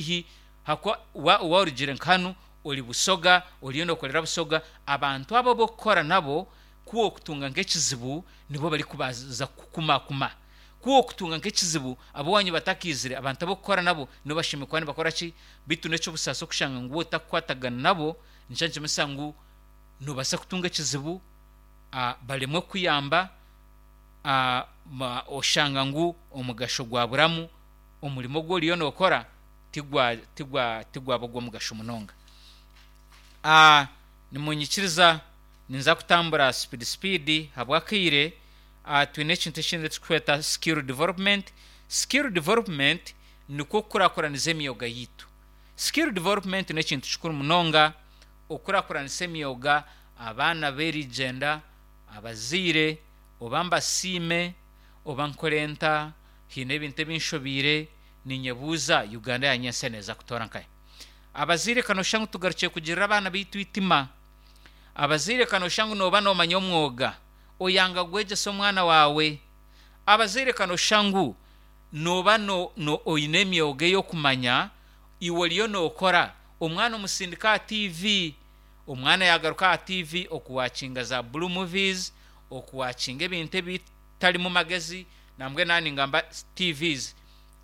Haihi ahakuba waaba orugire nka hanu ori Busoga, oriyo nookorera Busoga, abantu abo abu orikukora nabo ku orikutunga nk'ekizibu nibo barikubanza kukukumakuma. Ku orikutunga nk'ekizibu ab'owaanyu batakaizire, abantu abu orikukora nabo nibo bashemereire kuba nibakora ki? Beitu n'eky'obusaasi okushanga ngu waaba otakukwatagana nabo, nikyo nikimanyisa ngu noobaasa kutunga ekizibu baremwe kukuyamba, oshanga ngu omugasho gwaburamu, omurimo ogu oriyo nookora tigwa tigwa tigwaba ogw'omugasho munonga. Nimunyikiriza ninza kutambura sipidi sipidi ahabw'akaire, twine ekintu ekindi eki turikweta skill development. Skill development nikwo kukurakuraniza emyoga yaitu. Skill development n'ekintu kikuru munonga, okukurakuranisa emyoga, abaana b'erigyenda, abazaire oba mbasiime oba nkore nta, haine ebintu ebi nshobeire, Ninyebuuza, Uganda ya nyentsya neeza kutoora nkahi? Abazaire ka nooshusha ngu tugarukire kugirira abaana baitu eitima. Abazaire ka nooshusha ngu nooba noomanya omwoga, oyanga gwegyesa omwana waawe. Abazaire ka nooshusha ngu nooba no, no, oine emyoga ey'okumanya, iwe oriyo nookora, omwana omusindika aha tiivi. Omwana yaagaruka aha tiivi okuwakinga za blue movies, okuwakinga ebintu ebitarimu magezi, Nambwenu aha ningamba TVs,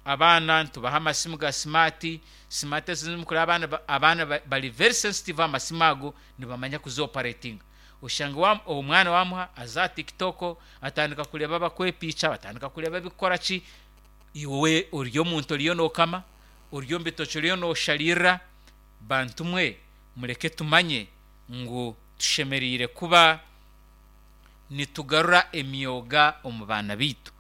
abaana nitubaha amasimu ga simaati, simaati ezi ezimukureba abaana abaana bari very sensitive aha masimu ago nibamanya kuzi operatinga. Oshange wa omwana wamuha aza aha tiktok atandika kureeba abakwepiikya, atandika kureeba ebikukora ki, iwe ori omuntu oriyo nokama, ori omu bitookye oriyo noshariirira, bantu mwe mureke tumanye ngu tushemereire kuba nitugarura emyoga omu baana baitu.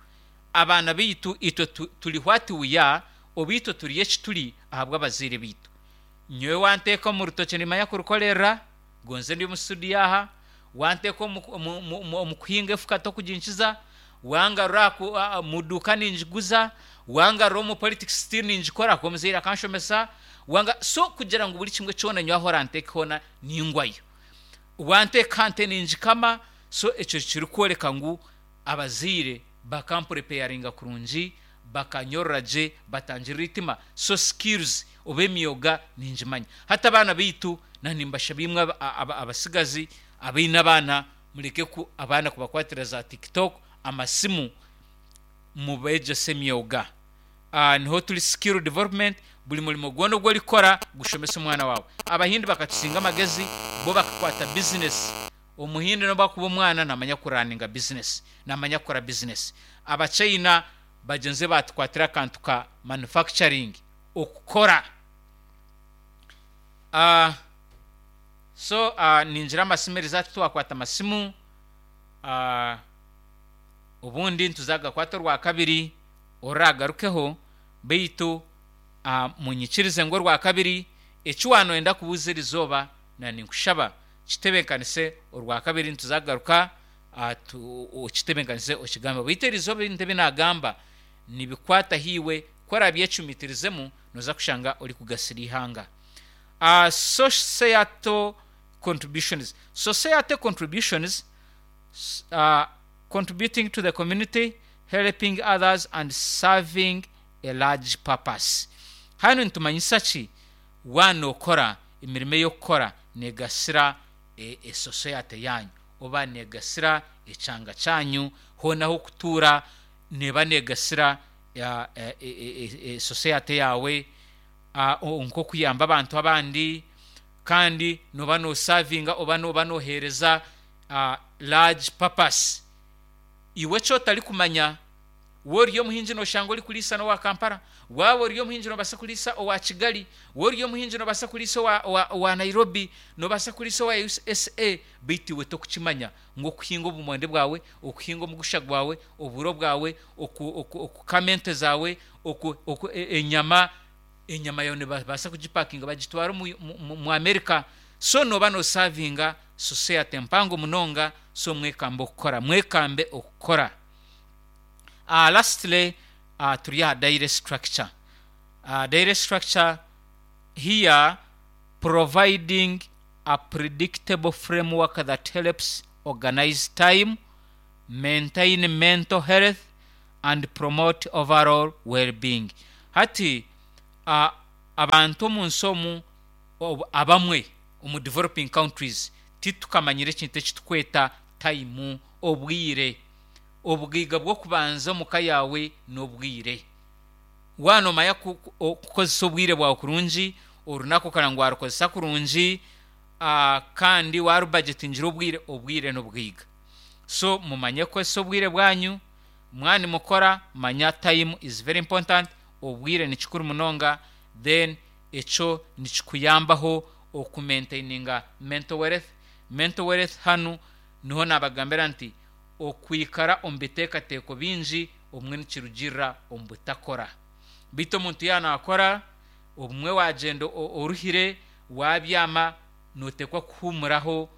Abaana baitu itwe turi what we are oba itwe turi eki turi ahabw'abazaire baitu. Nyowe wanteeka omu rutookye nimanya kurukorerera, gonze ndi omu studio aha, wanteeka omu kuhinga efuka tokuginkiza, wangarura aha mu duuka ningiguza, wangarura omu politics still ningikora ahakuba omuzaire akanshomesa, so kugira ngu buri kimwe kyona nyowe ahu oranteeke hoona ningwayo. Wanteeka nte ningikama, so ekyo kirikworeka ngu abazaire bakampurepeyaringa kurungi, bakanyorora gye, batangirira eitima, so skills oba emyoga ningimanya. Hati abaana baitu na nimbashaba imwe abatsigazi abaine abaana mureke ku abaana kubakwatira za tiktok, amasimu, mubeegyese emyoga. Niho turi skill development, buri murimo gwona ogu orikukora gushomese omwana waawe. Abahindi bakatusinga amagezi, bo bakakwata bizinesi. Omuhindi n'obu akuba omwana naamanya kuraninga bizinesi, naamanya kukora bizinesi. Abachaina bagyenzi baatukwatira akantu ka manufacturing, okukora. So ningira amasimu eriizooba titwakwata masimu, obundi nituza kugakwata orwakabiri. Oraagarukeho, beitu munyikirize ngu orwakabiri, eki waanoyenda kubuuza erizooba, na ninkushaba kitebenkanise orwakabiri nituza kugaruka okitebenkanise okigambe. Beitu erizooba ebintu ebi naagamba nibikwataho iwe, ku oraabyecumitirizemu nooza kushanga orikugasira eihanga. Societal contributions Society contributions Contributing to the community, helping others and serving a large purpose. Hanu nitumanyisa ki? Waaba nookora emirimo ei orikukora neegasira esoseyate yaanyu oba neegasira ekyanga kyanyu, hoona ah'okutuura neeba neegasira esoseyate yaawe, nk'okuyamba abantu abandi kandi nooba noosaavinga oba nooba nooheereza large purpose. Iwe eki otarikumanya, waaba ori omuhingi nooshanga orikuriisa n'owa Kampala, waaba ori omuhingi noobaasa kuriisa owa Kigali, waaba ori omuhingi noobaasa kuriisa owa Nairobi, noobaasa kuriisa owa USA, beitu iwe torikukimanya ngu okuhinga obumonde bwawe, okuhinga omugusha gwawe, oburo bwawe, okukama ente zaawe, enyama, enyama yaawe nibabaasa kugipakinga bagitware omu America. So nooba nosavinga society mpango munonga so mwekambe okukora, mwekambe okukora. Lastly turi aha daily structure. Daily structure here providing a predictable framework that helps organize time, maintain mental health and promote overall well being. Hati. Abantu omu nsi omu abamwe omu developing countries titukamanyire ekintu eki tukweta time, obwire. Obugaiga bw'okubanza omu ka yaawe n'obwire. Waaba noomanya kukozesa obwire bwawe kurungi, orunaku okareba ngu waarukozesa kurungi kandi waarubajetingira obwire, obwire n'obugaiga. So mumanye kukozesa obwire bwanyu, mwaba nimukora manya time is very important, obwire ni kikuru munonga then ekyo nikikuyambaho oku maintaininga mental wealth. Mental wealth hanu niho naabagambira nti okwikara omu biteekateeko bingi obumwe nikirugiirira omu butakora. Beitu omuntu yaaba naakora, obumwe waagyenda oruhire, waabyama, nooteekwa kuhuumuraho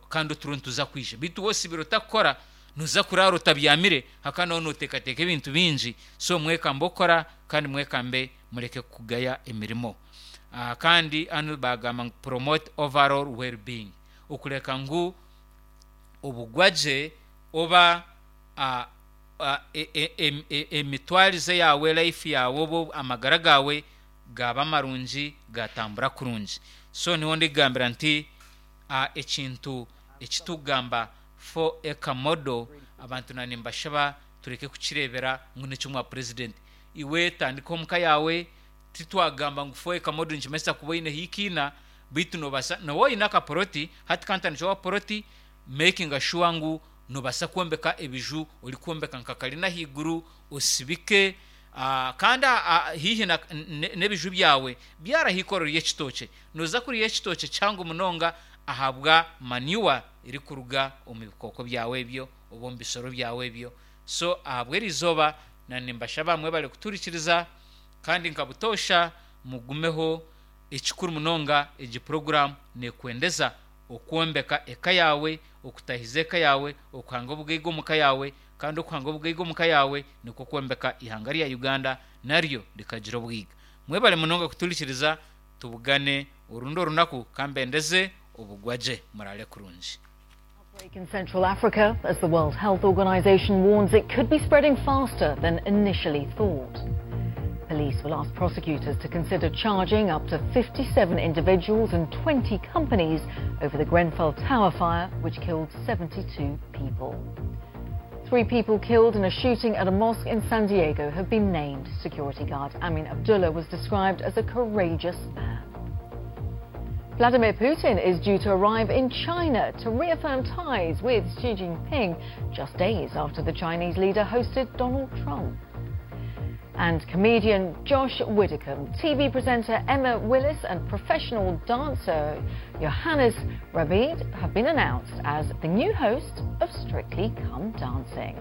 kandi oturo nituza kwija. Beitu waaba osibire otakukora, nooza kuraara otabyamire ahakuba nooba nooteekateeka ebintu bingi. So mwekambe okukora kandi mwekambe mureke kugaya emirimo. Kandi hanu baagamba ngu promote overall well-being, okureka ngu obugwagye oba emitwarize yaawe, life yaawe oba amagara gaawe gaaba marungi gaatambura kurungi. So niho ndikugambira nti ekintu eki turikugamba 4 acre model abantu na nimbashaba tureke kukireebera ngu n'eky'omwa purezidenti. Iwe tandika omuka yaawe, titwagamba ngu 4 acre model nikimanyisa kuba oineho eikiina beitu noobaasa nooba oine akapoloti, hati kantandikyeho apoloti makinga sure ngu noobaasa kwombeka ebiju orikwombeka nka karina ahaiguru osibike kandi haihi n'ebiju byawe byaraho eikoro ry'ekitookye. Nooza kuriya ekitookye kihango munonga ahabwa manure erikuruga omu bikooko byawe ebyo oba omu bisoro byawe ebyo. So ahabw'erizooba na nimbashaba mwebare kuturikiriza kandi nka butoosha mugumeho. Ekikuru munonga egi puroguraamu neekwendeza okwombeka eka yaawe, okutahiza eka yaawe, okuhanga obugaiga omu ka yaawe, kandi okuhanga obugaiga omu ka yaawe nikwo kwombeka eihanga rya Uganda naryo rikagira obwiga. Mwebare munonga kuturikiriza, tubugane orundi orunaku kambendeze obugwagye. Muraare kurungi. Outbreak in Central Africa as the World Health Organization warns it could be spreading faster than initially thought. Police will ask prosecutors to consider charging up to 57 individuals and 20 companies over the Grenfell Tower fire, which killed 72 people. Three people killed in a shooting at a mosque in San Diego have been named. Security guard Amin Abdullah was described as a courageous man. Vladimir Putin is due to arrive in China to reaffirm ties with Xi Jinping just days after the Chinese leader hosted Donald Trump. And comedian Josh Widdicombe, TV presenter Emma Willis, and professional dancer Johannes Rabid have been announced as the new host of Strictly Come Dancing.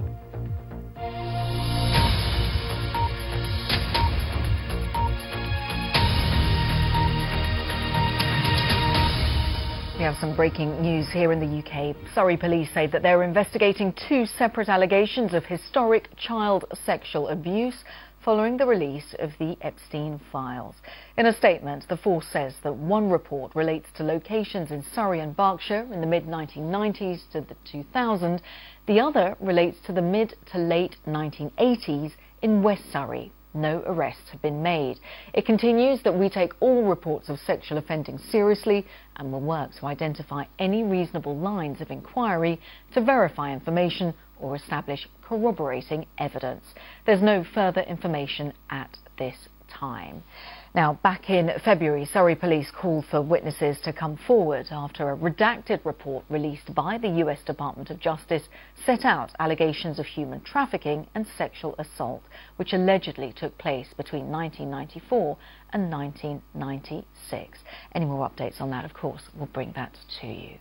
We have some breaking news here in the UK. Surrey police say that they're investigating two separate allegations of historic child sexual abuse following the release of the Epstein files. In a statement, the force says that one report relates to locations in Surrey and Berkshire in the mid 1990s to the 2000. The other relates to the mid to late 1980s in West Surrey. No arrests have been made. It continues that we take all reports of sexual offending seriously and will work to identify any reasonable lines of inquiry to verify information or establish corroborating evidence. There's no further information at this time. Now, back in February, Surrey police called for witnesses to come forward after a redacted report released by the US Department of Justice set out allegations of human trafficking and sexual assault, which allegedly took place between 1994 and 1996. Any more updates on that, of course, we'll bring that to you.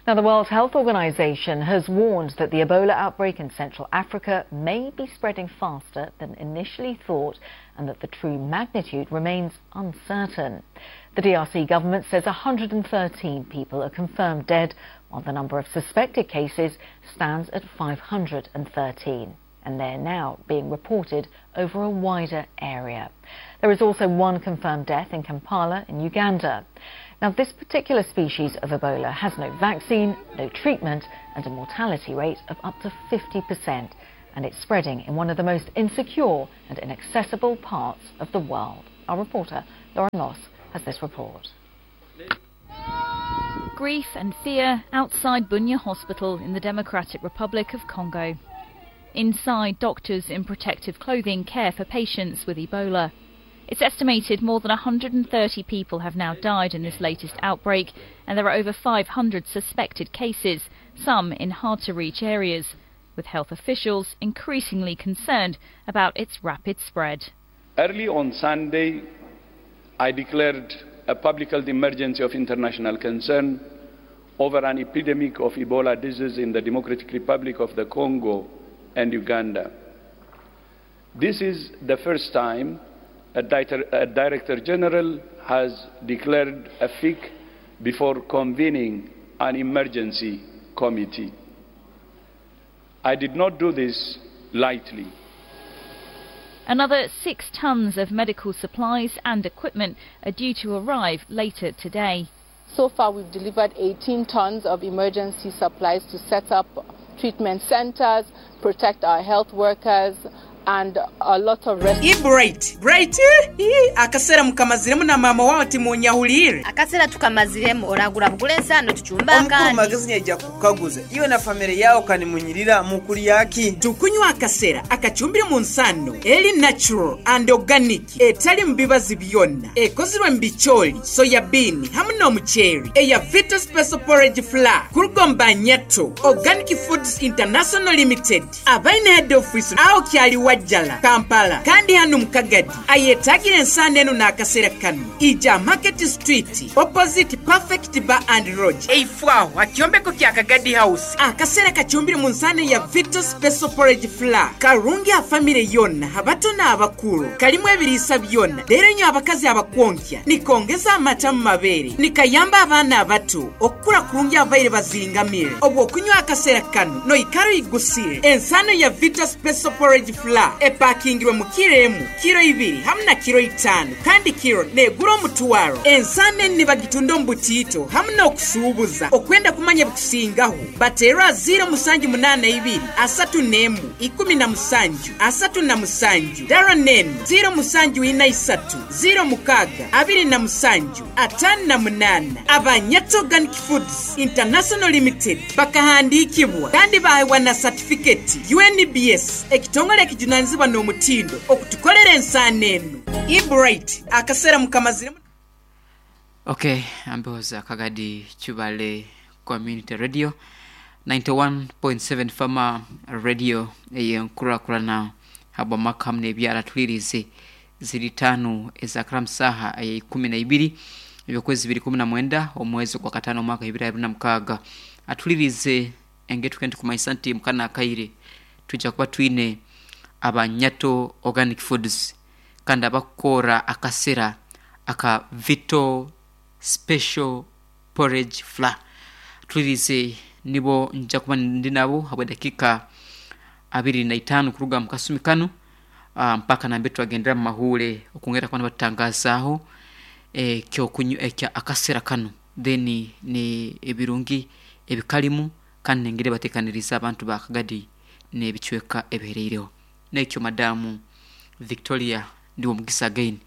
Now, the World Health Organization has warned that the Ebola outbreak in Central Africa may be spreading faster than initially thought and that the true magnitude remains uncertain. The DRC government says 113 people are confirmed dead, while the number of suspected cases stands at 513 and they're now being reported over a wider area. There is also one confirmed death in Kampala in Uganda. Now, this particular species of Ebola has no vaccine, no treatment, and a mortality rate of up to 50%, and it's spreading in one of the most insecure and inaccessible parts of the world. Our reporter, Lauren Moss has this report. Grief and fear outside Bunia Hospital in the Democratic Republic of Congo. Inside, doctors in protective clothing care for patients with Ebola. It's estimated more than 130 people have now died in this latest outbreak, and there are over 500 suspected cases, some in hard to reach areas, with health officials increasingly concerned about its rapid spread. Early on Sunday, I declared a public health emergency of international concern over an epidemic of Ebola disease in the Democratic Republic of the Congo and Uganda. This is the first time a, a Director General has declared a FIC before convening an emergency committee. I did not do this lightly. Another 6 tons of medical supplies and equipment are due to arrive later today. So far, we've delivered 18 tons of emergency supplies to set up treatment centers, protect our health workers, and a lot of Ii Bright, Bright ii akasera mukamaziremu na maama wawe timunyahuliire. Akasera tukamaziremu oragura bugure ensaano tucumbe Omukuru akandi. Magezi nyaija kukukaguza iwe na famire yawe kanimunyirira mukulyaki? Tukunywa akasera akacumbire mu nsano eri natural and organic etali mu bibazi byonna ekozirwe mu bicooli, soya bean hamu n'omuceeri eya Vita Special Porridge Flour kuruga omu Banyato Organic Foods International Limited abaine head office aho kyali Wajjala, Kampala kandi hanu mu Kagadi ayetagire ensaano enu n'akasera kanu ija Market Street opposite Perfect Bar and Lodge eifo aho ha kyombeko kya Kagadi House. Akasera kacumbire mu nsaano ya Vita Special Porridge Flour karungi ha famire yona abato n'abakuru kalimu ebiriisa byona leero nyo abakazi abakwonkya nikongeza amata mu mabeere nikayamba abaana abato okukura kurungi abaire bazingamire obwo okunywa akasera kano noikara oigusire. Ensaano ya Vita Special Porridge Flour epakingirwe mu kiro emu, kiro ibiri hamu na kiro itaano kandi kiro negura omutwaro. Ensaano enu nibagitunda omu butiito hamu n'okusuubuza. Okwenda kumanya ebikusingaho bateerwa 0782 31 17 37 dara nenu 0743 06 27 58. Abanyato Organic Foods International Limited bakahandiikibwa kandi baheebwa na satifiketi UNBS ekitongole ekijunanizibwa n'omutindo okutukolera ensaano enu. Ebright akasera mukamaziremu. Ok, ambeho Kagadi Chubale Community Radio 91.7 Fama Radio eyenkurakurana habwamaka hamu n'ebyara tulirize ziri tano ezakara musaha eya 12 ebyokwezi 2019 omwezi gwa katano omwaka 2026 atulirize engetuke nitukumaisa nti mukana akaire twija kuba twine abanyato organic foods kandi abakukora akasera aka Vito Special Porridge Flour. Tulirize nibo nja kuba ndi nabo habw'edakiika 25 kuruga mu kasumi kanu mpaka nambe twagendera mu mahuure okwongera kuba nibatutangazaaho ekyokunywa ekya akasera kanu then ni ebirungi ebikalimu kandi nengeri batekaniriize abantu ba Kagadi n'ebicweka ebihereireho. Nekyo Madamu Victoria ndiwe omugisa again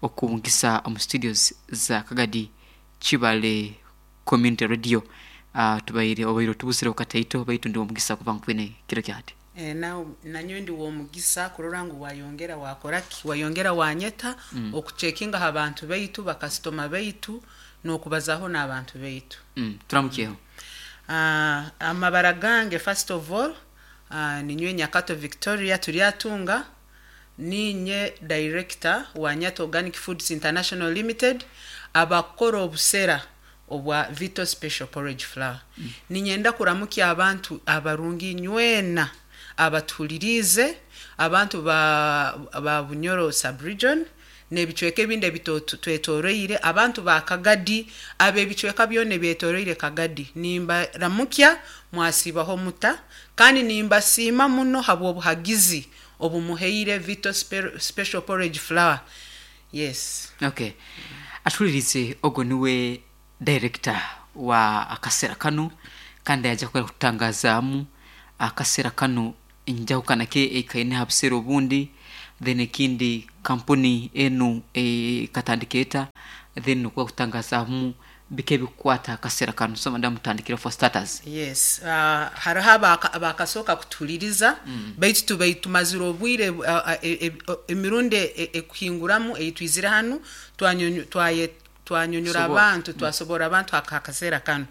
okubungisa omu studios za Kagadi Kibale Community Radio. Tubaire obaire otubuzireho kataito baitu ndi w'omugisa kuba nkwine kiro kya hati. Nawe nanyowe ndi w'omugisa kurora ngu wayongera wakora ki wayongera wanyeta okucekinga ha bantu baitu bakasitoma baitu n'okubazaho n'abantu baitu. Turamukyeho. Amabara gange first of all ninywe Nyakato Victoria Turyatunga ninye director wa Nyato Organic Foods International Limited abakora obusera obwa Vito Special Porridge Flour. Ninyenda kuramukya abantu abarungi nywena abatuhuliriize abantu ba, ba Bunyoro sub-region n'ebicweka ebindi ebitwetoroire abantu ba Kagadi ab'ebicweka byona ebyetoroire Kagadi nimbaramukya mwasiibaho muta kandi nimbasiima muno habw'obuhagizi obumuhaire Vito Special Porridge Flour. Yes. Okay. Atuhulirize ogwo niwe director wa akasera kanu kandi yaija kwera kututangazaamu akasera kanu enjahukana ki ekaine ha busera obundi. Then ekindi kampuni enu ekatandika eta? Then nukwo kutangazaamu biki ebikukwata akasera kanu. So madamu tutandikire for starters. Yes, hariho abakasooka kutuhuliriza baitu tubaire tumazire obwire emirundi ekuhinguramu ei twizire hanu twanyonyora abantu twasoborra abantu ha kaseera kanu.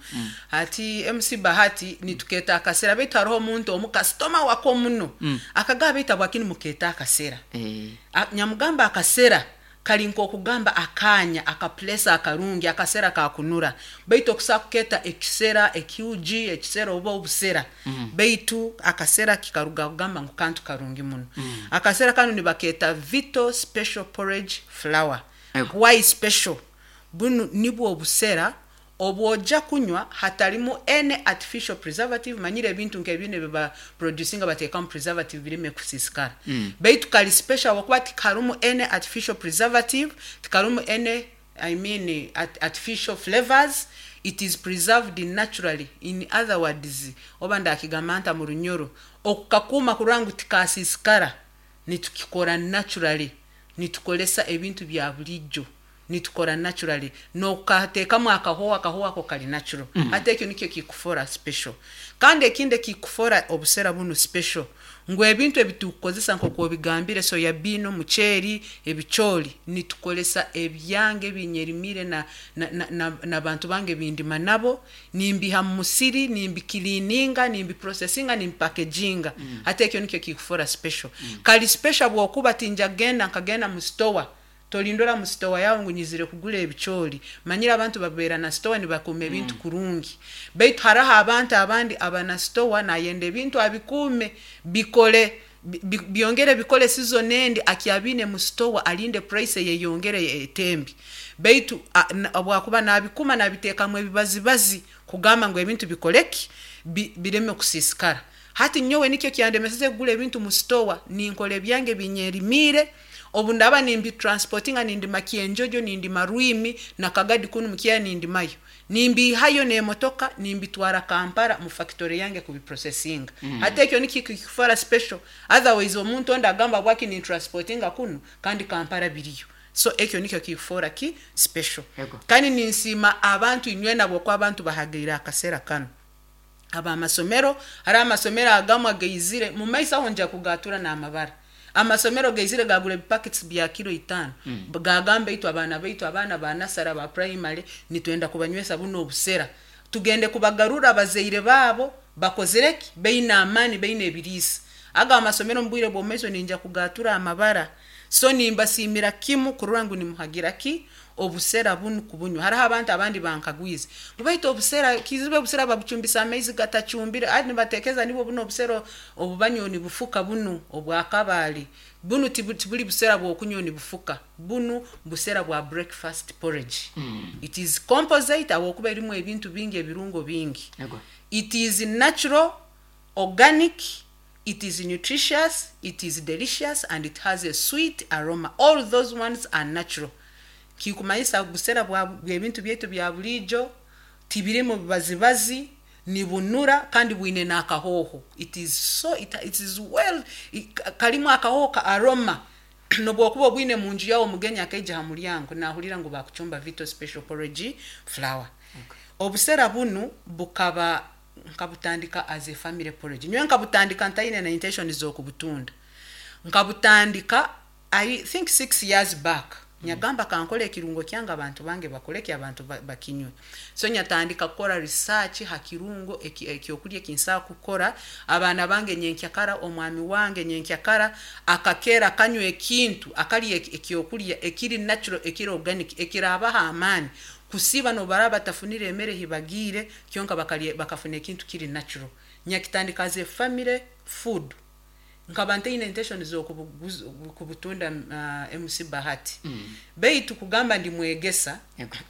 Hati MC Bahati nitukeeta akasera baitu hariho omuntu omu kasitoma wako muno akagamba baitu habwaki nimukeeta akasera? Nyamugamba akasera kari nk'okugamba akaanya, aka place akarungi, akasera kakunura. Baitu okusobola kukeeta ekisera, ekiugi, ekisera oba obusera baitu akasera kikaruga kugamba ngu kantu karungi muno. Akasera kanu nibakeeta Vito Special Porridge Flour. Why special? Bunu nibwo obusera obwoja kunywa hatarimu any artificial preservative, manyire ebintu nk'ebinu ebi ba producinga batekamu preservative bireme kusiisikara. Baitu kari special habwokuba tikarumu any artificial preservative, tikarumu any I mean artificial flavours, it is preserved naturally, in other words oba ndakigamba nta mu Runyoro, okukakuuma kurora ngu tikasiisikara nitukikora naturally. Nitukoresa ebintu bya burijo, nitukora naturally, nokateekamu akahooho, akahooho ako kari natural. Hati ekyo nikyo kikufora special. Kandi ekindi ekikufora obusera bunu special, ngu ebintu ebi turikukozesa nkoku obigambire, soya bean, omuceeri, ebicoori, nitukoresa ebyange ebi nyerimiire na na nabantu bange ebi ndima nabo, Nimbiiha mu musiri, nimbikiliininga, nimbiprosesinga, nimbipakeginga. Hati ekyo nikyo kikufora special. Kari special habwokuba tinja kugenda nkagenda mu sitowa, tolindora mu sitowa yaawe ngu nyizire kugura ebicoori. Manyire abantu babeera na sitowa nibakuuma ebintu kurungi. Baitu haraho abantu abandi aba na sitowa nayenda ebintu abikuume, bikore, byongere bikore season endi akyabiine mu sitowa alinde price eyeyongere etembi. Baitu obu akuba nabikuuma nabiteekamu ebibazibazi kugamba ngu ebintu bikore ki? Bireme kusiisikara. Hati nyowe nikyo kyandemeseze kugura ebintu mu sitowa, ninkora ebyange ebi nyerimiire, obu ndaaba nimbitransportinga nindima Kyenjojo, nindima Rwimi na Kagadi kunu mu Kyeya nindimayo. Nimbiihayo n'emotoka nimbitwara Kampala mu fakitore yange kubiprosesinga. Hati ekyo nikyo kikufora special, otherwise omuntu ondi agamba habwaki nintransportinga kunu kandi Kampala biriyo. So ekyo nikyo kikufora ki special. Kandi ninsiima abantu inywena habwokuba abantu bahagaire akasera kanu. Ab'amasomero, hariho amasomero agamwe agaizire, mumaiso aho nja kugatura n'amabara. Amasomero gaizire gaagura ebipakitsi bya kiro itaano, gaagamba itwe abaana baitu, abaana ba nasare, aba purayimare, nitwenda kubanywesa bunu obusera. Tugende kubagarura abazaire baabo bakozire ki? Baine amaani, baine ebiriisa. Ago amasomero omu bwire bw'omumaiso ninja kugaatura amabara. So nimbasiimira kimu kurora ngu nimuhagira ki? Obusera bunu kubunywa. Hariho abantu abandi bankagwize ngu baitu obusera, kizibu obusera babucumbisa amaizi gatacumbire, hati nibatekereza nibwo bunu obusera obu banywa nibufuka bunu obwa Kabale. Bunu tiburi busera bw'okunywa nibufuka, bunu busera bwa breakfast porridge. It is composite ahabw'okuba erimu ebintu bingi, ebirungo bingi. It is natural, organic, it is nutritious, it is delicious and it has a sweet aroma. All those ones are natural. Kikumanyisa busera bwa bw'ebintu byaitu bya buriijo, tibirimu bibazibazi, nibunura kandi bwine n'akahooho. It is so, it, it is well, karimu akahooho ka aroma. N'obu okuba obwine mu nju yaawe omugenyi akaija ha muryango naahurira ngu baakucumba Vito Special Porridge Flour. Obusera bunu bukaba nkabutandika as a family porridge. Nyowe nkabutandika ntaine na intention z'okubutunda. Nkabutandika I think 6 years back. Nyagamba kankole ekirungo kyange abantu bange bakore ki abantu bakinywe. So nyatandika kukora research ha kirungo ekyokurya eki nsobola kukora, abaana bange nyenkyakara, omwami wange nyenkyakara akakeera akanywa ekintu, akarya ekyokurya ekiri natural, ekiri organic, ekiraabaha amaani kusiiba n'obu baraaba batafunire emere hi bagiire, kyonka bakarya bakafuna ekintu kiri natural. Nyakitandika as a family food. Nkaba ntaine intention z'okubutunda MC Bahati. Baitu kugamba ndi mwegesa,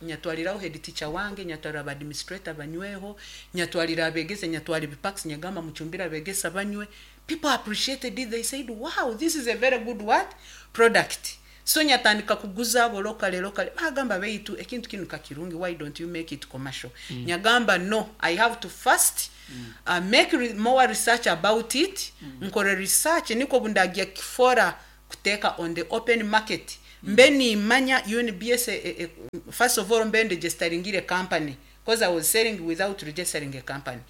nyatwariraho head teacher wange, nyatwarira ba administrator banyweho, nyatwarira abegesa, nyatwara ebipacks nyagamba mucumbire abegesa banywe. People appreciated it, they said wow this is a very good what? Product. So nyatandika kuguza abo locally locally, bagamba baitu ekintu kinu kakirungi why don't you make it commercial? Nyagamba no, I have to first make more research about it, nkore research nikwo obu ndagya kukifora. kuteeka on the open market mbe nimanya UNBS first of all mbe ndegistaringire company because I was selling without registering a company.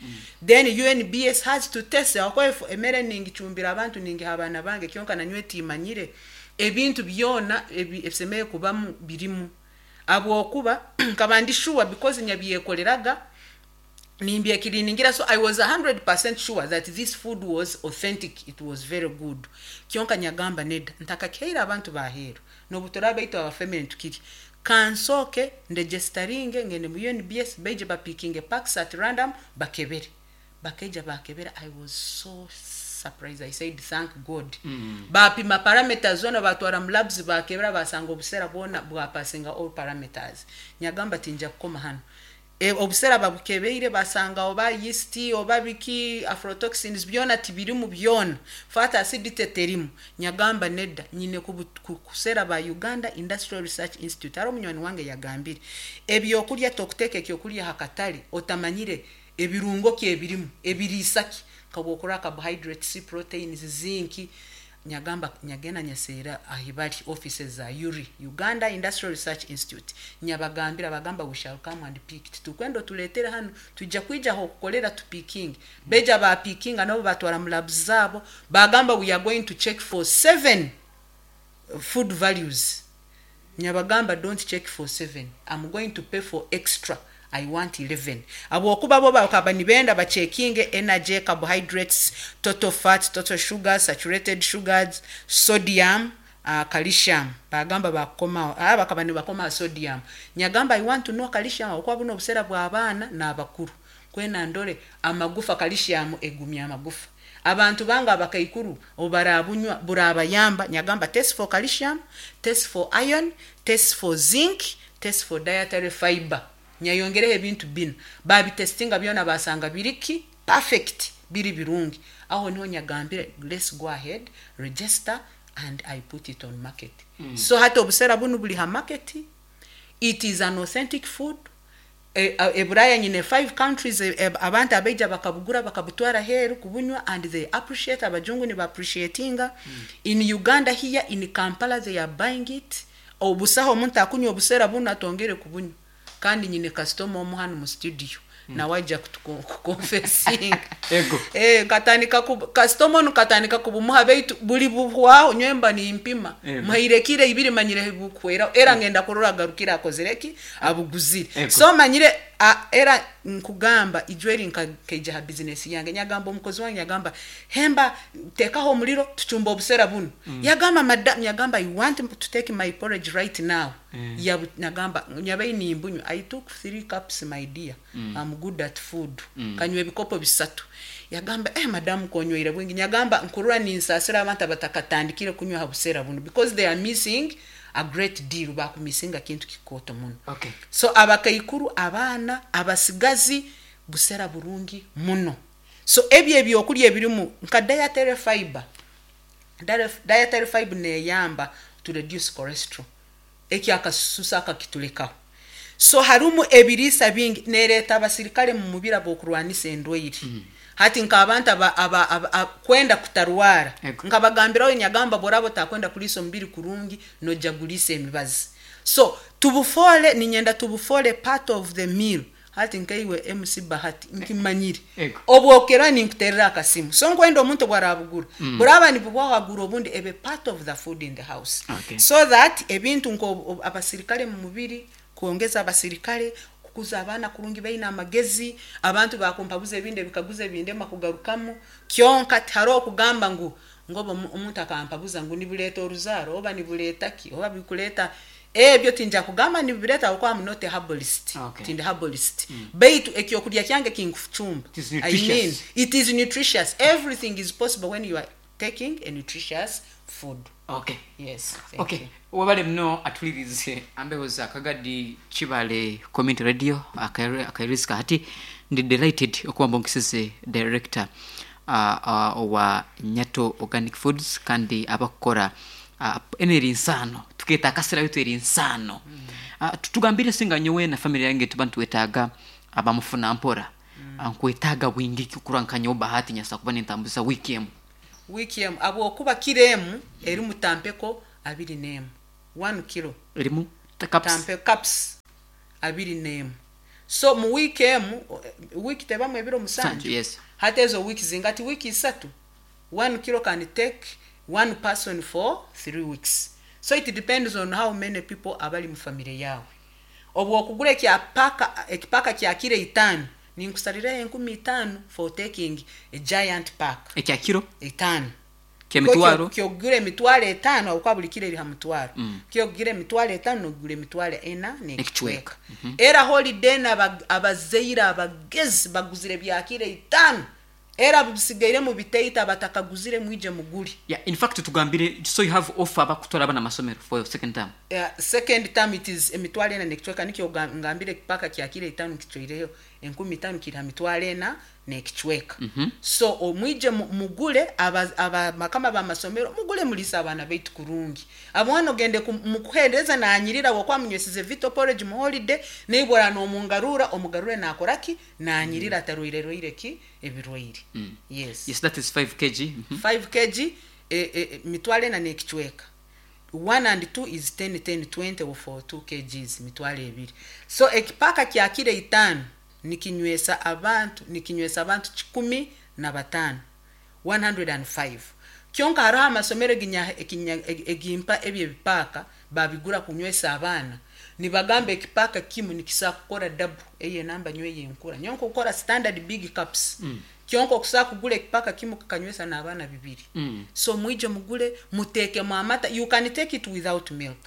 Then UNBS has to test ahakuba if emere ningicumbira abantu ningiha abaana bange kyonka nanyowe timanyire ebintu byona ebisemeriire kubamu birimu habwokuba nkaba ndi sure because nyabyekoleraga nimbyekiriningira, so I was 100% sure that this food was authentic, it was very good. Kyonka nyagamba neda ntakakihaire abantu baheeru nobuturaba baitu abafamily nitukirya, kansooke ndegesitaringe ngende mu UNBS baije bapikinge packs at random bakebere. Bakaija bakebera, I was so surprised, I said thank God. Bapima parameters zona batwara mu labs bakebera basanga obusera bwona bwapasinga all parameters. Nyagamba tinja kukoma hanu. Obusera babukebeire basanga oba yeast oba biki aflatoxins byona tibirimu byona, fat acid teterimu. Nyagamba nedda nyine kusera ba Uganda Industrial Research Institute. Hariho omunywani wange yagambire ebyokurya tokuteeka ekyokurya hakatale otamanyire ebirungo ki ebirimu ebiriisa ki nkabwokura carbohydrates, proteins, zinc. Nyagamba nyagenda nyaseera ahibali offices za URI, Uganda Industrial Research Institute, nyabagambira bagamba we shall come and pick it, tukwenda otuletere hanu tujja kwija aho okukolera tupiking. Beija bapikinga nabo batwara mu labs zabo bagamba we are going to check for 7 food values. Nyabagamba don't check for 7, I'm going to pay for extra, I want 11. Habwokuba bo bakaba nibenda bachekinge energy, carbohydrates, total fat, total sugar, saturated sugars, sodium, calcium. Bagamba bakoma, bakaba nibakoma sodium. Nyagamba I want to know calcium habwokuba buno obusera bw'abaana n'abakuru. Kwena ndore amagufa, calcium egumya amagufa. Abantu banga abakaikuru obarabunywa burabayamba. Nyagamba test for calcium, test for iron, test for zinc, test for dietary fiber. Nyayongereho ebintu binu babitestinga byona basanga biriki perfect, biri birungi. Aho niho nyagambire let's go ahead, register and I put it on market. So hati obusera bunu buli ha market, it is an authentic food. Eburaya nyine 5 countries abantu abaija bakabugura bakabutwara heru kubunywa and they appreciate, abajungu ni ba appreciatinga. In Uganda here in Kampala they are buying it. Obusaho omuntu akunywa obusera bunu atongere kubunywa. Kandi nyine customer omu hanu mu studio nawe ajja kuconfessinga. Ego. Katandika customer onu katandika kubumuha baitu buli buhwaho nywemba nimpima. Ego. Muhairekire ibiri manyire bukwera era ngenda kurora agarukira akozereki abuguzire. Ego. So manyire era nkugamba ijweri nkakeija ha business yange nyagamba omukozi wange nyagamba hemba tekaho omuliro tuchumba obusera buno. Yagamba madam, nyagamba I want to take my porridge right now. Nyagamba nyabayi nimbunywa, I took 3 cups my dear. I'm good at food. Kanywa ebikopo bisatu. Yagamba madam konyweire bwingi. Nyagamba nkurura ninsasira abantu abatakatandikire kunywa ha busera buno because they are missing a great deal, bakumisinga kintu kikoto muno. Okay. So abakaikuru abaana abasigazi busera burungi muno. So ebyo ebyokurya ebirimu nka dietary fiber. Dietary fiber neyamba to reduce cholesterol. Eki akasusa akakitulekaho. So harumu ebiriisa bingi nereeta abasirikale mu mubiri ab'okurwanisa endwaire. Hati nk'abantu kwenda kutarwara. Ego. Nkabagambiraho nyagamba borabo takwenda kuliisa omubiri kurungi nojja guliisa emibazi. So tubufole ninyenda tubufole part of the meal. Hati nkaiwe MC Bahati nkimanyire. Ego. Obwokera ninkuterera akasimu. So nkwenda omuntu bwarabugura. Buraba nibubwahagura obundi ebe part of the food in the house. Okay. So that ebintu nko abasirikale mu mubiri kuongeza abasirikale kukuza abaana kurungi baina amagezi abantu bakumpabuza ebindi ebikaguza ebindema kugarukamu kyonka tihariho okugamba ngu ngoba omuntu akampabuza ngu nibuleeta oruzaaro oba nibuleeta ki oba bikuleeta ebyo tinja kugamba nibireeta ahabwokuba I'm not a herbalist. Okay. Tindi herbalist. Baitu ekyokurya kyange kinkucumba. It is I mean, nutritious. it is nutritious. Everything is possible when you are taking a nutritious food. Okay. Yes, thank Okay. you. Wabale muno atulirize ambeho za Kagadi Kibale Community Radio akairiska hati ndi delighted okuba mbonkeseze director owa Nyato Organic Foods kandi abakukora eno eri nsaano tukeeta akasera bitu eri nsaano. Tutugambire singa nyowe na family yange tuba nitwetaaga abamufuna mpora. Nkwetaaga bwingi kukura nka nyowe Bahati nyasa kuba nintambuza wiki emu. Wiiki emu habwokuba kiro emu erimu tampeko abiri n'emu, one kilo. Erimu cups? Tampe, cups abiri n'emu. So mu wiiki emu, wiiki tebamu ebiro musanju? Yes. Hati ezo wiiki zinga? Hati wiiki isatu, one kilo can take one person for 3 weeks. So it depends on how many people abali mu family yawe. Obu okugura ekya paka, ekipaka kya kiro 5, ninkusarirayo 5000 for taking a giant pack. Ekya kiro 5. Kyemitwaro? Kyokugura 50,000 habwokuba buli kiro eri ha mutwaro. Kyokugura 50,000, nogura 4,000 n'ekicweka. Era holiday abazaire abagezi baguzire bya kiro 5, era bisigaire mu biteita, batakaguzire mwije mugure. Yeah, in fact tugambire, so you have offer abakutwara abana amasomero for second term? Second term it is 4,000 n'ekicweka. Nikyo ngambire ekipaka kya kiro 5 kicwireyo 5000, kiri ha 4,000 n'ekicweka. So omwije mugule, aba bakama b'amasomero, mugule mulise abaana baitu kurungi. Abwana ogende mukuhereza nanyirira wokuba munywesize Vito porridge mu holiday, neibora nomungarura, omugarure nakoraki? Nanyirira, atarwaire rwaire ki ebirwaire. Yes. Yes, that is 5 kg. 5 kg, 4,000 n'ekicweka. 1 and 2 is 10, 10, 20 for 2 kgs, 20,000. So ekipaka kya kiro 5 nikinywesa abantu 105, 105. Kyonka hariho amasomero egimpa ebyo ebipaka babigura kunywesa abaana, nibagamba ekipaka kimu nikisa kukora double eye namba nywe yenkura nyonka kukora standard big cups. Kyonka okusobola kugura ekipaka kimu kakanywesa n'abaana bibiri. So mwije mugule, muteekemu amata. You can take it without milk.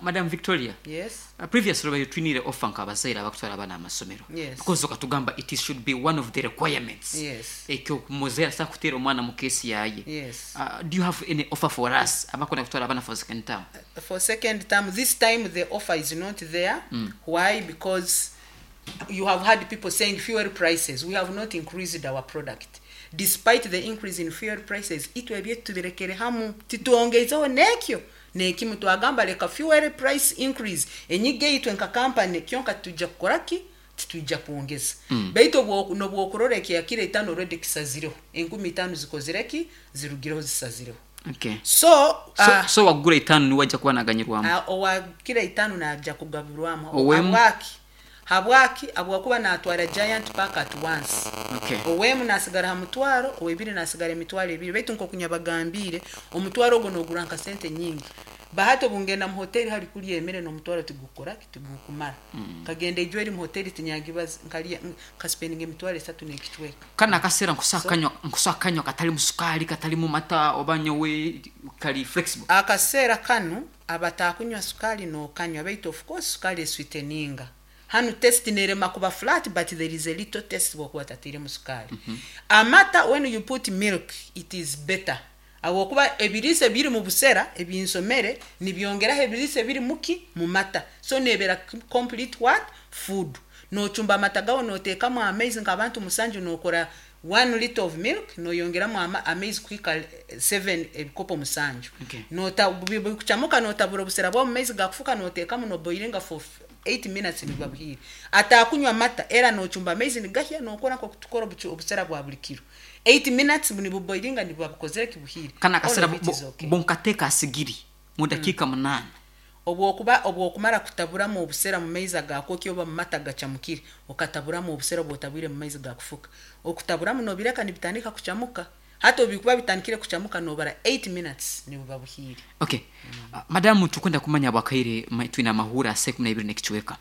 Madam Victoria. Yes. Previously bayo twinire offer nk'abazaire abakutwara abaana amasomero. Yes. Because okatugamba it should be one of the requirements. Ekyo muzaire asa kuteera omwana mu kesi yaye. Yes. Do you have any offer for us abakunda kutwara abaana for second term? For second term, this time the offer is not there. Why? Because you have had people saying fuel prices. We have not increased our product despite the increase in fuel prices. Itwe ebyetu tubirekere hamu, titwongeizeho nekyo nekimu. Twagamba leka fuel price increase enyiga eitwe nka company, kyonka tujja kukoraki? Titwijja kwongeza. Baitu nobwokurora ekyakiro 5 already kisazireho, 5000 zikozireki? Zirugireho, zisazireho. So, So, so wagura 5 niwe ajja kuba naganyirwamu? Owa kiro 5 najja kugabirwamu. Owemu? Habwaki? Habwakuba natwara giant pack at once. Owemu nasigara ha mutwaro, owebiri nasigara 20,000. Baitu nkokunyabagambiire, omutwaro ogwo nogura nka sente nyingi. Bahati obungenda mu hoteri hari kurya emere n'omutwaro tigukora, tigukumara. Kagenda ijwe eri mu hoteri tinyagibaza, nkalya nkaspendinga 3,000 n'ekicweka. Kana akaseera nkusakanywa katalimu sukali, katalimu mata, oba nyowe kali flexible? Akaseera kanu abatakunywa sukali nokanywa, baitu of course sukali esweeteninga hanu taste nerema kuba flat, but there is a little taste bwokuba tatiremu sukali. Amata, when you put milk it is better, habwokuba ebiriisa ebiri mu busera ebinsomere nibyongeraho ebiriisa ebiri muki? Mu mata. So nebera complete what? Food. Nochumba amata gawe, noteekamu amaizi nk'abantu musanju, nokora 1 liter of milk, noyongeramu amaizi kuhika 7, ebikopo 7. Nota bikuchamuka, notabura obusera bwawe mu maizi gakufuka, noteekamu, noboilinga for 8 minutes, nibuba buhiire. Atakunywa mata era nochumba amaizi nigahya, nokora nkokutukora obusera bwa buli kiro, 8 minutes nibuboilinga, nibuba bukozere kibuhiire. Kana akasera All of it is okay. bonkateeka asigiri mu dakiika 8? Obwokuba obwokumara kutaburamu obusera mu maizi agakwokya oba mu mata gacamukire, okataburamu obusera bwotabwire mu maizi gakufuka, okutaburamu nobireka nibitandika kucamuka. Hati obikuba bitandikire kucamuka, nobara 8 minutes, nibuba buhiire. Okay. Madamu, tukwenda kumanya bwakaire twine amahura asa 12 n'ekicweka.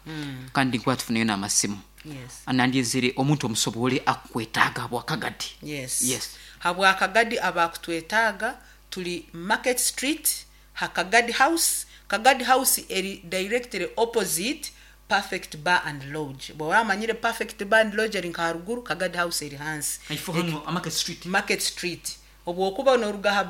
Kandi nkuba tufuneyo n'amasimu. Yes. Anandyezere omuntu omusobole akukwetaaga bwakagadi. Yes. Yes. Habwakagadi abakutwetaaga, tuli Market Street ha Kagadi House. Kagadi House eri directly opposite Perfect Bar and Lodge. Bwaba amanyire Perfect Bar and Lodge eri nka haruguru, Kagadi House eri hansi. Ifo hano Market Street. Market Street, obwokuba noruga ha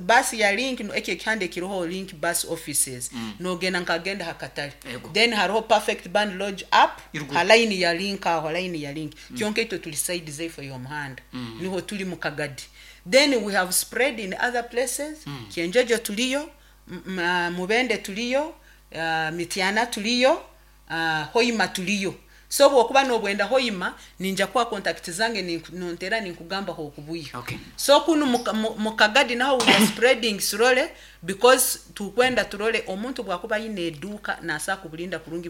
basi ya Link, ekyo ekihanda ekiriho Link Bus offices, nogenda nkagenda hakatale. Ego. Then hariho Perfect Bar and Lodge up Iruguru. ha line ya Link, aho ha line ya Link. Kyonka itwe tuli side zeifo y'omuhanda, niho tuli mu Kagadi. Then we have spread in other places. Kyenjojo tuliyo, Mubende tuliyo, Mityana tuliyo, Hoima tuliyo. So obwokuba nobwenda hoima ninja kuha contact zange nontera ninkugamba hokubuiha. Okay. So kunu mu Kagadi naho we are spreading slowly because tukwenda turole omuntu bwakuba aine eduuka naasa kuburinda kurungi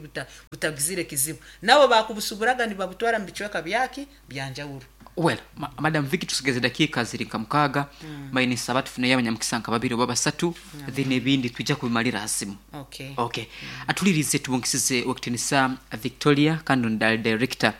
butagizire kizibu. Nabo bakubusuburaga nibabutwara mu bicweka byaki byanjawulo. Well, Madam Vicky, tusigeze dakiika ziri nka 6. Mbaine nsaba tufuneyo abanyamukisa nka babiri oba basatu, then ebindi twija kubimalira aha simu. Okay. Okay. Atulirize tubungisize Owekitinisa Victoria kandi onu ali director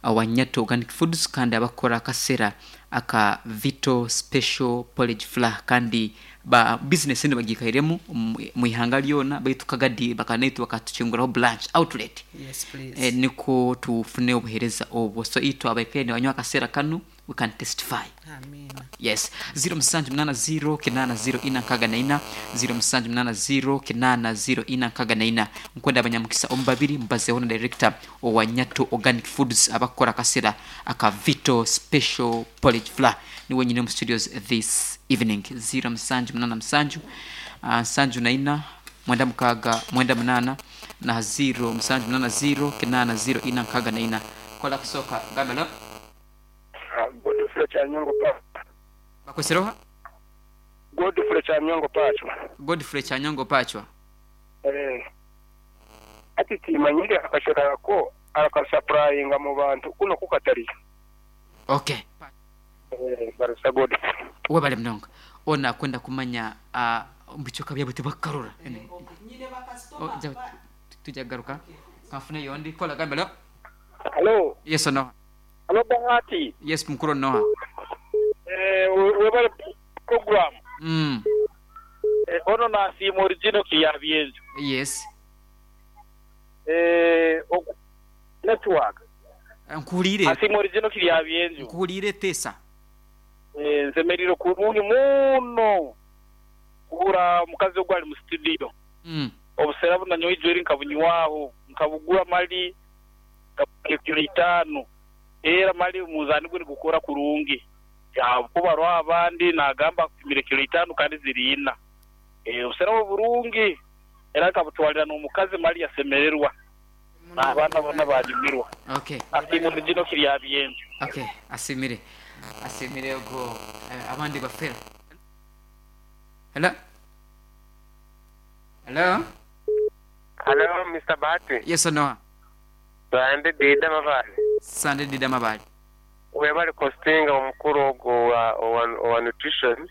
wa Nyato Organic Foods kandi abakukora akasera aka Vito Special Porridge Flour kandi ba business enu bagiikairemu omu ihanga ryona baitu Kagadi bakaba naitwe bakatukinguraho branch outlet. Yes please. Nikwo tufune obuhereza obwo. So itwe abaikaire nibanywa akasera kanu we can testify. Amiina. Yes. 0780 8 0 4 64 0780 8 0 4 64. Nkwenda abanyamukisa omu babiri mubazeho na director owa Nyato Organic Foods abakukora akasera aka Vito Special Porridge Flour. Niwe nyine omu studios this evening. 0787 74 96 98 na 0780 8 0 4 64. Kola kusooka gamba hello. Godfrey Kyanyongo Pachwa. Bakwesire oha? Godfrey Kyanyongo Pachwa. Godfrey Kyanyongo Pachwa. Eh. Hati timanyire akashera ako arakasapurayinga mu bantu kuno ku katariyo. Okay. Eh, Barisa Godfrey. Webale munonga. Onu akwenda kumanya omu bicweka byabo tibakukarora. Twija kugaruka. Kanfune ondi. Kola gamba hello. Hello. Yes or no? Hello Bahati. Yes mukuru onoha? Eh, webale program. Eh, ono nasiima original Kiryabyenju. Yes. Eh, ogu network. Nkuhuriire. Asiima original Kiryabyenju. Nkuhuriire teesa. Eh, nsemereire kurungi muno kuhura omukazi ogu ari mu studio. Obusera bu nanyowe ijweri nkabunywaho, nkabugura mali ekiro itaano, era mali omunzani gwe nigukora kurungi. Ahabw'okuba hariho abandi nagamba akupimire kiro itaano kandi ziri ina. Obusera obwo burungi era nkabutwarira n'omukazi mali yasemererwa n'abaana boona banyumirwa. Okay. Asiimwe Original Kiryabyenju. Okay, asiimire. Asiimire ogwo abandi bafera. Hello? Hello? Hello, Mister Bahati. Yes or no? Sande Dida Mabale. Sande Dida Mabale. Webale kostinga omukuru ogwo owa nutrition.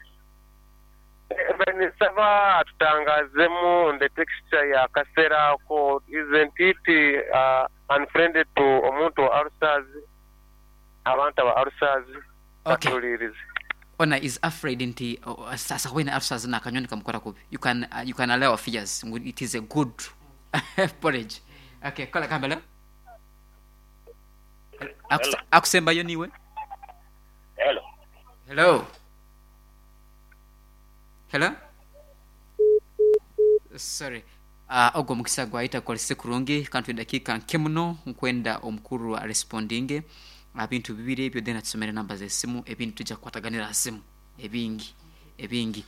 Mbaire ninsaba atutangazemu on the texture ya kasera ako, isn't it unfriendly to omuntu wa ulcers, abantu aba ulcers, Okay. Atuhuririze. Ona is afraid nti sasa wena ulcers nakanywa nikamukora kubi. You can you can allow fears ngu it is a good porridge. Okay, kola kambala. Hello. Akusembayo niwe. Hello. Hello. Hello. Sorry. Ogwo omukisa gwayita gukorese kurungi kandi twine edakiika nke muno nkwenda omukuru arespondinge aha bintu bibiri ebyo then atusomere enamba z'esimu ebindi twija kukwataganira aha simu ebingi ebingi.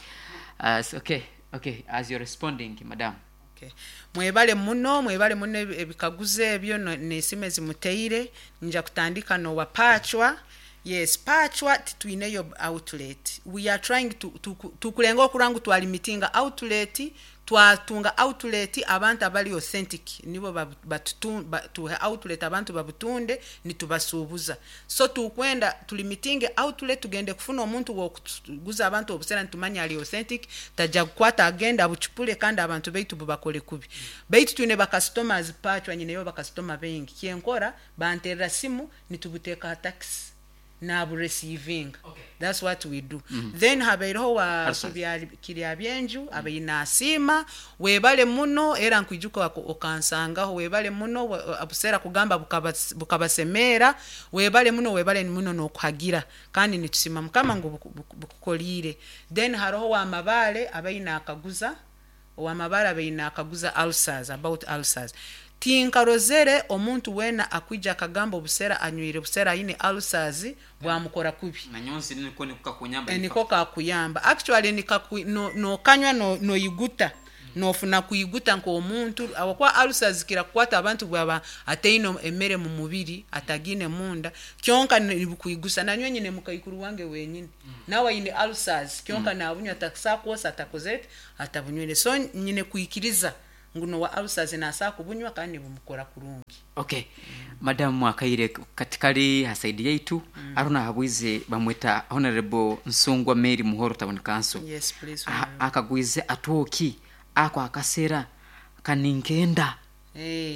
Okay, okay, as you're responding madam. Okay. Mwebale muno, mwebale muno ebikaguzo ebyo n'esimu ezi muteire. Nija kutandika n'owa Pachwa. Yes, Pachwa titwineyo outlet. We are trying to, tukulenga okurora ngu twalimitinga outlet, twatunga outlet abantu abari authentic nibo tuhe outlet abantu babutunde nitubasuubuza. So tukwenda tulimitinge outlet tugende kufuna omuntu w'okuguza abantu obusera nitumanya ari authentic, taja kukwata agenda abucupure kandi abantu baitu bubakore kubi. Baitu twine ba customers Pachwa nyineyo ba customer baingi. Kyenkora banterera simu nitubuteeka aha taxi nabureceivinga. Okay. That's what we do. Then habaireho wa Alphonse. Kiryabyenju abaire nasiima webale muno era nkwijuka okansangaho webale muno obuseera kugamba bukabasemeera webale muno webale muno n'okuhagira kandi nitusiima Mukama ngu bukukoriire. Then hariho owa Mabaale abaire nakaguza owa Mabaale abaire nakaguza ulcers about ulcers. Tinkarozere omuntu weena akwija akagamba obusera anywire busera aine ulcers bwamukora kubi. Nanyowe nsi niko niko kakunyamba. Niko kakuyamba. Actually nokanywa noyiguta. Nofuna kwiguta nk'omuntu ahabw'okuba ulcers zikira kukwata abantu bwaba ataine emere mu mubiri atagiine munda kyonka nibukwigusa nanyowe nyine mukaikuru wange wenyini nawe aine ulcers kyonka nabunywa takusobola kwosa atakozire ki atabunywire so nyine kwikiriza ngu n'owa ulcers nasobola kubunywa kandi nibumukora kurungi. Okay madamu akaire kati kari ha side yaitu hariho nahabwize bamweta Honorable Nsungwa Mary Muhoro Town Council. Yes please Honorable. Akagwize atwoki ako akasera kaninkenda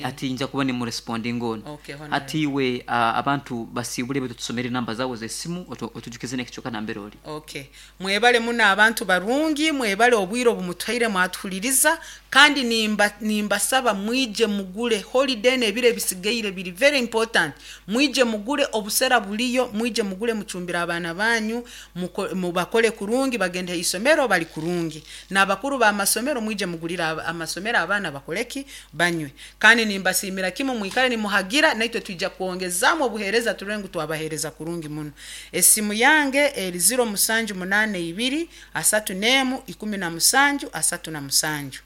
ati nja kuba nimurespondinga onu. Okay Hati Honorable. iwe abantu basiibure baitu tusomere enamba zawe z'esimu otujukize n'ekicweka nambere ori. Okay. Mwebale muno abantu barungi, mwebale obwire obumutuhaire mwatuhuliriza kandi nimba nimbasaba mwije mugule holiday n'ebiro ebisigaire biri very important mwije mugule obusera buliyo mwije mugule mucumbire abaana banyu muko, mubakole kurungi bagende haisomero bali kurungi n'abakuru b'amasomero mwije mugulire amasomero abaana bakoleki banywe kandi nimbasiimira kimu mwikare nimuhagira naitwe twija kwongezamu obuheereza turore ngu twabaheereza kurungi muno. Esimu yange eri ziro musanju munaana ibiri 31 17 37.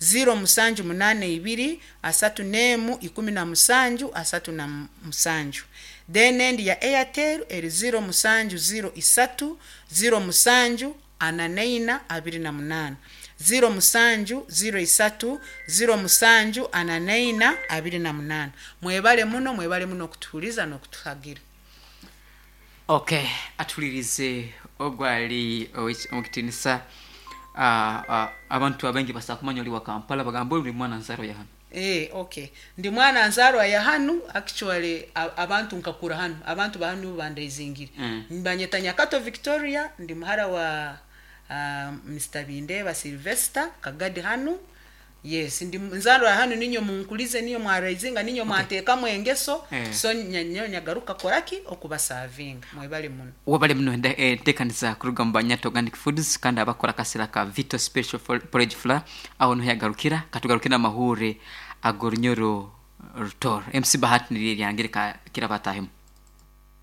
0782 31 17 37. Then endi ya Airtel eri 0703 07 44 28. 07 03 07 44 28. Mwebale muno, mwebale muno okutuhuriza n'okutuhagira. Okay, atuhuririze ogwo ari owekitiinisa abantu abaingi basobola kumanya ori wa Kampala bagamba ori mwana nzaarwa ya hanu. Eh, okay. Ndi mwana nzaarwa ya hanu, actually abantu nkakura hanu, abantu ba hanu nibo bandaizingire. Nibanyeta Nyakato Victoria, ndi muhara wa Mister Bindeeba Sylvester Kagadi hanu. Yes, ndi nzaarwa ya hanu ninyo munkulize, ninyo mwaraizinga, ninyo mwanteekamu engeso, so nyowe nyagaruka kukoraki? Okubasavinga. Mwebale muno. Webale muno enteekaniza kuruga omu Banyata Organic Foods kandi abakukora akasera ka Vito Special Porridge Flour aho niho yagarukira katugarukire n'amahuure ag'orunyoro Rutoro. MC Bahati niryo eryange reka kirabatahemu.